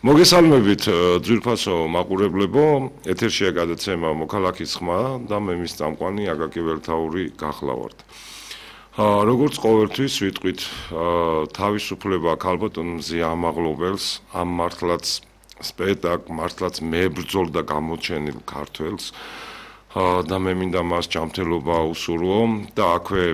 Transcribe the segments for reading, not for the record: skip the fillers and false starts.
მოგესალმებით ძვირფასო მაყურებლებო, ეთერშია გადაცემა მოქალაქის ხმა და მე მის წამყვანი აკაკი ველთაური გახლავართ. როგორც ყოველთვის ვიტყვით თავისუფლება ქალბატონ მზია ამაღლობელს, ამ მართლაც სპექტაკლ, მართლაც მებრძოლ და გამოჩენილ ქართველს და მე მინდა მას ჯანმრთელობა უსურვო და აქვე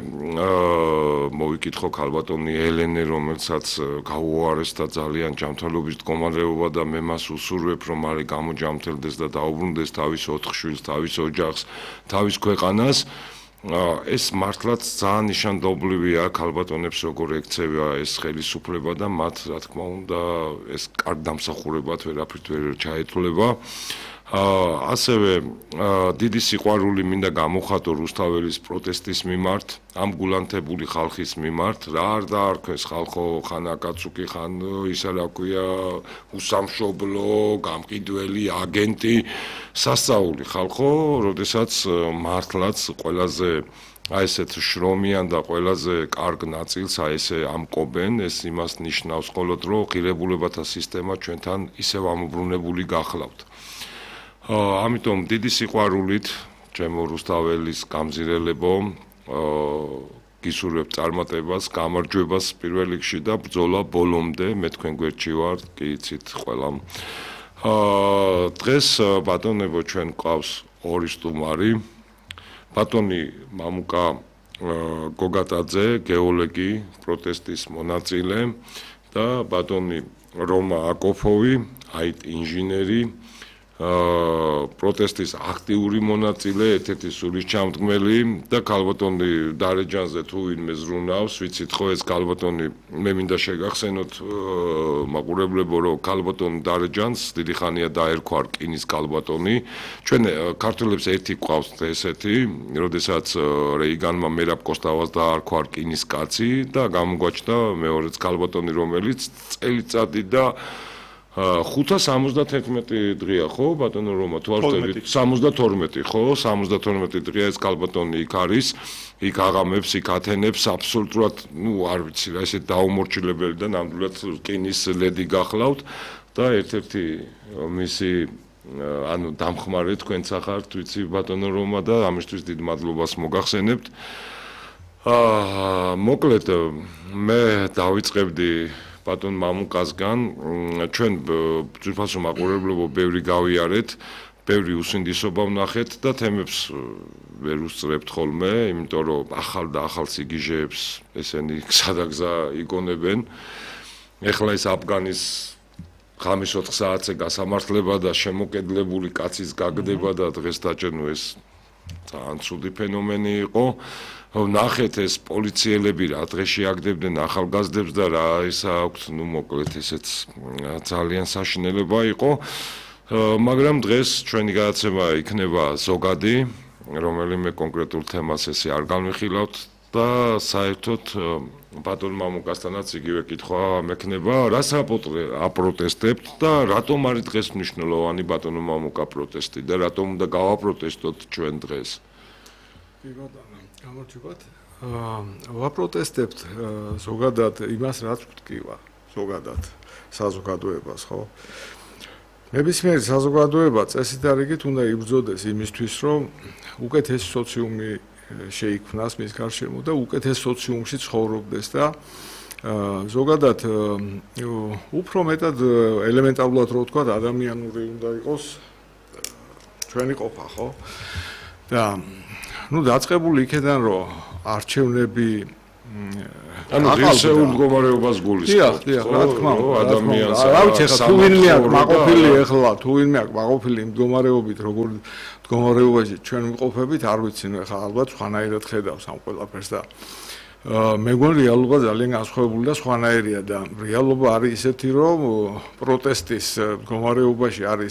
მოვიკითხო ქალბატონი ელენე, რომელსაც გაუარესდა ძალიან ჯანმრთელობის მდგომარეობა და მე მას უსურვებ, რომ არი გამოჯანმრთელდეს და დაუბრუნდეს თავის 4 შვილს, თავის ოჯახს, თავის ქვეყანას. ეს მართლაც ძალიან ნიშანდობლივია ქალბატონებს როგორ ექცევა ეს ხელისუფლება და მათ რა თქმა უნდა ეს კარგ დამსახურებად ვერაფრით ვერ ჩაეთვლება. ასევე დიდი სიყვარული მინდა გამოხატო რუსთაველის პროტესტის მიმართ, ამ გულანთებული ხალხის მიმართ, რა არ დაარქვეს ხალხო, ხან აკაცუკი, ხან ისა რა ქვია, უსამშობლო, გამყიდველი, აგენტი, სასწაული ხალხო, როდესაც მართლაც ყველაზე აი ესეთ შრომიან და ყველაზე კარგ ნაწილს აი ესე ამკობენ, ეს იმას ნიშნავს მხოლოდ რომ ღირებულებათა სისტემა ჩვენთან ისევ ამობრუნებული გახლავთ. ამიტომ დიდი სიყვარულით ჩემო რუსთაველის გამზირელებო გისურვებ წარმატებას, გამარჯვებას პირველ რიგში და ბრძოლა ბოლომდე მე თქვენ გვერდში ვარ, კი იცით ყველამ. დღეს ბატონებო ჩვენ გვყავს ორი სტუმარი. ბატონი მამუკა გოგატაძე, გეოლოგი, პროტესტის მონაწილე და ბატონი რომა აკოფოვი, IT ინჟინერი, პროტესტის აქტიური მონაწილე, ერთ-ერთი სულისჩამდგმელი და ქალბატონი დარეჯანზე თუ ვინმე ზრუნავს, ვიცით ხო ეს ქალბატონი მე მინდა შეგახსენოთ მაყურებლებო, რომ ქალბატონი დარეჯანს დიდი ხანია დაერქვა რკინის ქალბატონი. ჩვენ ქართველებს ერთი გვყავს ესეთი, როდესაც რეიგანმა მერაბ კოსტავას დაარქვა რკინის კაცი და გამოგვაჩნდა მეორეც ქალბატონი, რომელიც წელიწადი და 571 დღეა ხო ბატონო რომა თუ არ ვთქვი 72 ხო 72 დღეა ეს ქალბატონი იქ არის იქ აღამებს იქ ათენებს აბსოლუტურად ნუ არ ვიცი რა ესე დაუმორჩილებელი და ნამდვილად რკინის ლედი გახლავთ და ერთ-ერთი მისი ანუ დამხმარე თქვენც ახართ ვიცი ბატონო რომა და ამისთვის დიდ მადლობას მოგახსენებთ. მოკლედ მე დავიწყებდი ბატონ მამუკასგან ჩვენ ძვირფასო მაყურებლებო ბევრი გავიარეთ, ბევრი უსინდისობა ვნახეთ და თემებს ვერ უსწრებთ ხოლმე, იმიტომ რომ ახალ და ახალ სიგიჟეებს ესენი გზადაგზა იგონებენ. ეხლა ეს აფგანის ღამის 4 საათზე გასამართლება და შემოკედლებული კაცის გაგდება და დღეს დაჭერნო ეს ძალიან ცუდი ფენომენი იყო. ნახეთ ეს პოლიციელები რა დღეში აგდებდნენ ახალგაზრდებს და რა ისა აქვთ, ნუ მოკლედ ესეც ძალიან საშინელება იყო. მაგრამ დღეს ჩვენი გადაცემა იქნება ზოგადი, რომელიმე კონკრეტულ თემას ესე არ განვიხილავთ და საერთოდ ბატონ მამუკასთანაც იგივე კითხვა მექნება, რას აპროტესტებთ და რატომ არის დღეს მნიშვნელოვანი ბატონო მამუკა პროტესტი და რატომ უნდა გავაპროტესტოთ ჩვენ დღეს? კი ბატონო გამარჯობათ. ვაპროტესტებთ ზოგადად იმას, რაც ვთქვა, ზოგადად საზოგადოებას, ხო? ნებისმიერი საზოგადოება წესით და რიგით უნდა იბრძოდეს იმისთვის, რომ უკეთესი სოციუმი შეიქმნას მის გარშემო და უკეთეს სოციუმში ცხოვრობდეს და ზოგადად უფრო მეტად ელემენტარულად რო ვთქვა, ადამიანური უნდა იყოს ჩვენი ყოფა, ხო? და ну დაწყებული იქიდან რომ არჩევნები ანუ ღირსეულ მდგომარეობას გულისხმობთ. დიახ, რა თქმა უნდა, ადამიანს რა ვიცი ხა თუ ვინმე აქვს მაყოფილი ეხლა, თუ ვინმე აქვს მაყოფილი მდგომარეობით, როგორ მდგომარეობაში ჩვენ ვიყოფებით, არ ვიცი, ნუ ეხლა ალბათ სხვანაირად ხედავს ამ ყველაფერს და მე მგონი რეალობა ძალიან განსხვავებული და სხვანაირია და რეალობა არის ისეთი, რომ პროტესტის მდგომარეობაში არის